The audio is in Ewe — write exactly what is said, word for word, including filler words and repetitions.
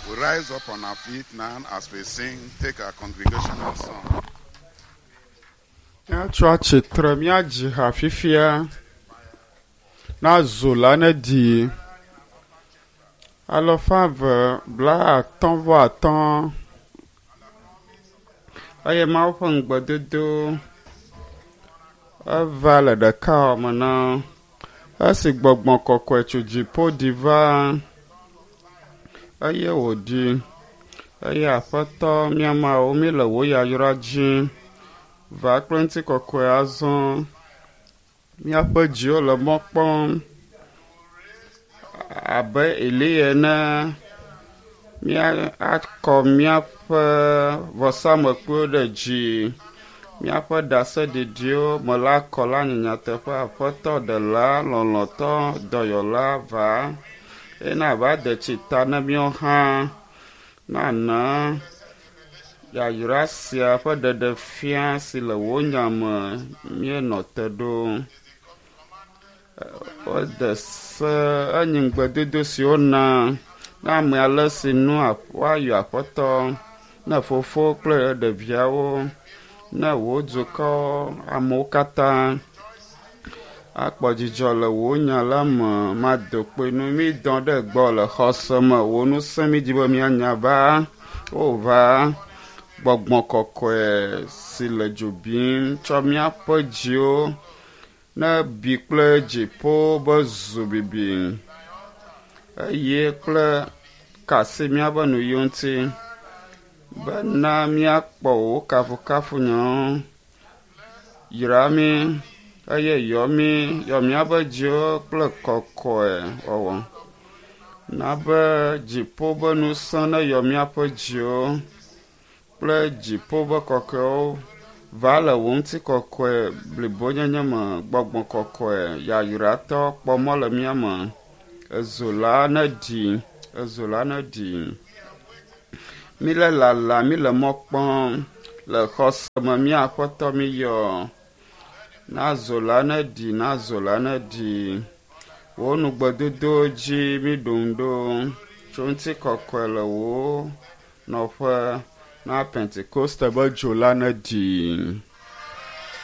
We rise up on our feet now as we sing, take our congregational song. Míatso atsitre míadzi ha fifia na zo la ne ɖi alafa eve bla atɔ̃ vɔ atɔ̃ eye Mawu ƒe ŋugbedodo eva le ɖeka me na esi gbɔgbɔ kɔkɔe tso dziƒo ɖi va eye wòɖi eye aƒetɔ mía Mawu míele wò yayra dzi va kple ŋutikɔkɔe azɔ míaƒe dziwo le mɔ kpɔm abe Eliya ene míakɔ míaƒe vɔsamlekpuiwo ɖe dzi míaƒe ɖaseɖiɖiwo me la kɔ la nye nyateƒe aƒetɔ ɖela lɔlɔ̃tɔ dɔyɔla va eye nava de tsi ta na míawo hã nana yayra sia ƒe ɖeɖefia si le wò nya me míenɔ te ɖo. Wode se enyi ŋugbedodo si wona na ame ale si nu woayɔ aƒetɔ ne fofo kple ɖeviawo ne wò dukɔ amewo katã akpɔ dzidzɔ le wò nya la me mado kpoe nu mídɔ ɖe gbɔ le xɔse me wò ŋusẽ mídi be míanya va wova gbɔgbɔ kɔkɔe si le dzo bim tsɔ míaƒe dziwo ne bi kple dziƒo be zu bibi eye kple kasi míaƒe nuyiwo ŋuti bena míakpɔ wò kafukafu nyawo yra mí eye yɔ mí yɔ míaƒe dziwo kple kɔkɔe wɔwɔ na be dziƒo be ŋusẽ ne yɔ míaƒe dziwo kple dziƒo be kɔkɔewo va le wò ŋutikɔkɔe blibonyenye me gbɔgbɔ kɔkɔe yayratɔ kpɔ mɔ le mía me ezo la ne ɖi ezo la ne ɖi míle lala míle mɔ kpɔm le xɔse me mía aƒetɔ míyɔ na zo la ne ɖi na zo la ne ɖi wò nugbedodo dzi míɖo ŋu ɖo tso ŋutikɔkɔe le wò nɔƒe na Pentekoste be dzo la ne ɖi.